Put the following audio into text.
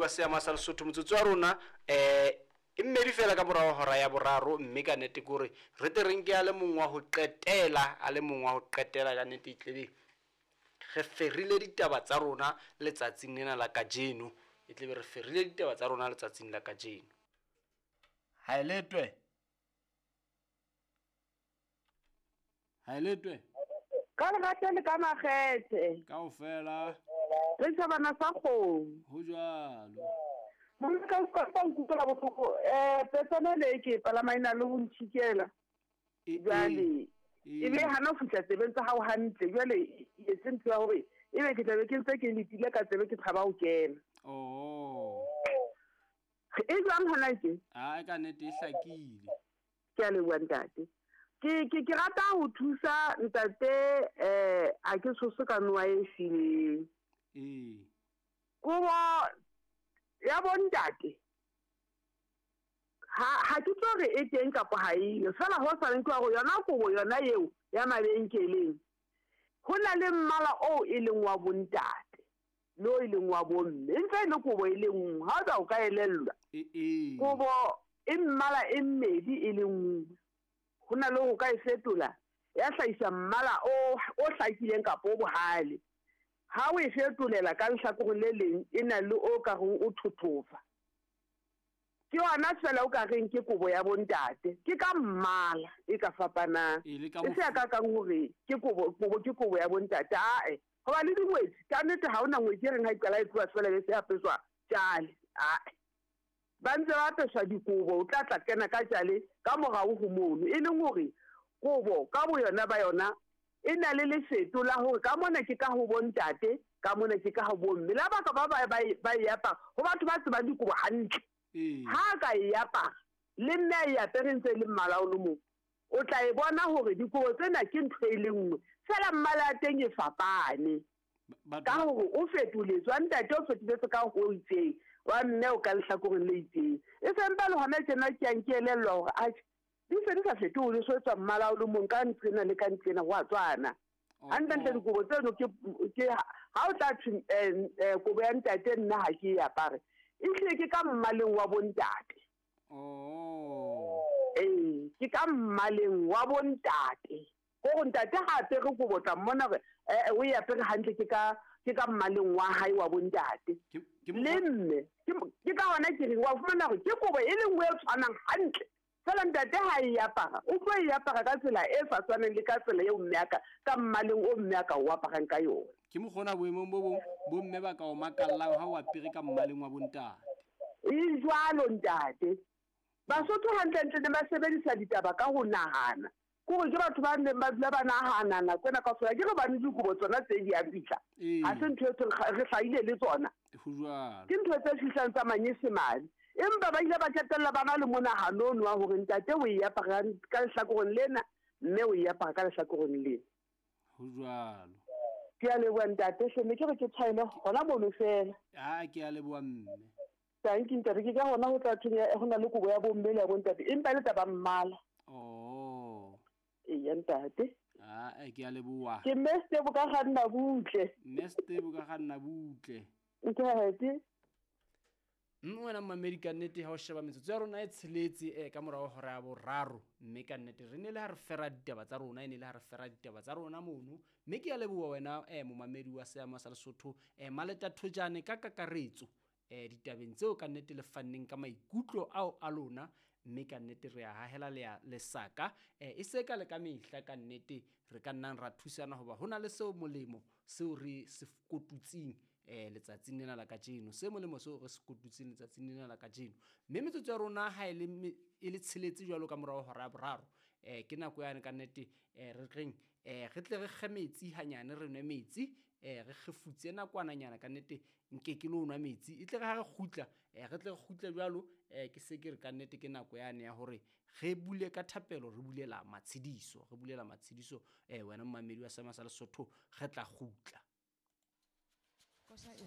Wa seama sa Lesotho, motsotso wa rona e mmedi fela ka morao hora ya boraro, mme ka nnete ke hore re tle re nke a le mong wa ho qetela, a le mong wa ho qetela. Ka nnete e tlebe re ferile ditaba tsa rona letsatsing lena la kajeno, e tlebe re ferile ditaba tsa rona letsatsing la kajeno. Ha e letwe, ha e letwe. Ka lerato le ka makgethe. Kaofela. Re tjhabana sa kgomo. Ho jwalo. Monna ka utlwa nkutlwela bohloko, petsana le ke palama e na le ho ntjhikela. Jwale e be hana ho fihla tsebeng tsa hao hantle. Jwale e etse ntho ya hore ebe ke tlabe ke ntse ke letile ka tsebe ke tshaba ho kena. Oh. E jwang hona tje? Ah, ka nnete e hlakile. Ke a leboha ntate. Ke ke ke rata ho thusa ntate, a ke tshose ka noa e fileng. Ee. Kobo ya bo ntate ha ke tlo re e teng kapa ha eyo, fela ho sa ke hore yona kobo yona eo ya mabenkeleng ho na le mmala oo e leng wa bontate le o e leng wa bomme, e ntse e le kobo e le nngwe. Ha o tla o ka elellwa, kobo e mmala e mmedi e le nngwe, ho na le ho ka e fetola ya hlahisa mmala o hlakileng kapa o bohale. Ha o e fetolela ka lehlakoreng le leng, e na le o ka reng o thothofa. Ke yona fela o ka reng ke kobo ya bontate, ke ka mmala e ka fapanang, e se ya ka kang hore ke kobo, kobo ke kobo ya bontate. Ae, hoba le dingwetsi ka nnete ha hona ngwetsi e reng ha e qala e tloha fela be se apeswa tjale. Ae, ba ntse ba apeswa dikobo, o tla tla kena ka tjale ka morao ho mono, e leng hore kobo ka boyona ba yona e na le lefeto la hore ka mona ke ka ho bontate, ka mona ke ka ho bomme. La baka ba ba ba e apara ho batho ba tsebang dikobo hantle, ha ka e apara le mme a e apere ntse e le mmala o le mong, o tla e bona hore dikobo tsena ke ntho e le nngwe fela, mmala ya teng e fapane ka hore o fetoletswe. Wa ntate o fetoletse ka ho itseng, wa mme o ka lehlakoreng le itseng. E sempa le hona tjena ke yang ke elellwa hore atjhe, di se di sa fetole, so etswa mmala o le mong ka nqena le ka nqena ho a tswana. Hantlentle dikobo tseno ke ha o tla thwe kobo ya ntate nna ha ke e apare, ehlile ke ka mmaleng wa bontate. Ee, ke ka mmaleng wa bontate. Hore ntate ha apere kobo tla mmona hore o e apere hantle, ke ka mmaleng wa hae wa bontate. Le mme ke ka hona ke reng wa fumana hore ke kobo e le nngwe e tshwanang hantle, fela ntate ha e apara o tlo e apara ka tsela e sa tshwaneng le ka tsela eo mme a ka mmaleng o mme a ka o aparang ka yona. Ke mokgona boemong bo bong bo mme ba ka o makallang ha o apere ka mmaleng wa bontate. E jwalo ntate. Basotho hantlentle ne ba sebedisa ditaba ka ho nahana. Ke hore ke batho ba neng ba dula ba nahana nako ena kaofela. Ke re bane dikobo tsona tse di a fihla. Ha se ntho e re hlahile le tsona. Ho jwalo. Ke ntho tse fihlang tsa manyesemane. Empa ba ile ba qetella ba na le monahano ono wa hore ntate o e apara ka lehlakoreng lena, mme o e apara ka lehlakoreng lena. Ho jwalo. Ke a leboha ntate hle, ne ke re ke tshwaele hona mono fela. Ah, ke a leboha mme. Thank you ntate, ke ka hona ho tla thweng ho na le kobo ya bomme le ya bontate, empa le taba mmala. Oh. Eya ntate. Ah, ke a leboha. Ke mme Stebo ka kganna butle. Mme Stebo ka kganna butle. Ntate. Mme wena mmamedi ka nnete ha o sheba metsotso ya rona e tsheletse ka morao hora ya boraro, mme ka nnete re ne le ha re fera ditaba tsa rona, e ne le ha re fera ditaba tsa rona mono. Mme ke a leboha wena momamedi wa seama sa Lesotho, Maleta Thojane ka kakaretso, ditabeng tseo ka nnete le fanneng ka maikutlo ao a lona, mme ka nnete re a hahela lesaka, e se ka le ka mehla ka nnete re ka nnang ra thusana hoba ho na le seo molemo seo re se kotutsing letsatsing lena la kajeno, se molemo seo re se kotutsing letsatsing lena la kajeno. Mme metsotso ya rona ha e le tsheletse jwalo ka morao hora ya boraro, ke nako yane ka nnete re reng re tle re kge metsi hanyane, re nwe metsi, re kgefutse nakwananyana ka nnete nke ke lo nwa metsi, e tle re ha re kgutla, re tle re kgutle jwalo, ke se ke re ka nnete ke nako yane ya hore re bule ka thapelo, re bulela matshediso, re bulela matshediso, wena mmamedi wa Seama sa Lesotho, re tla kgutla. Kosa e.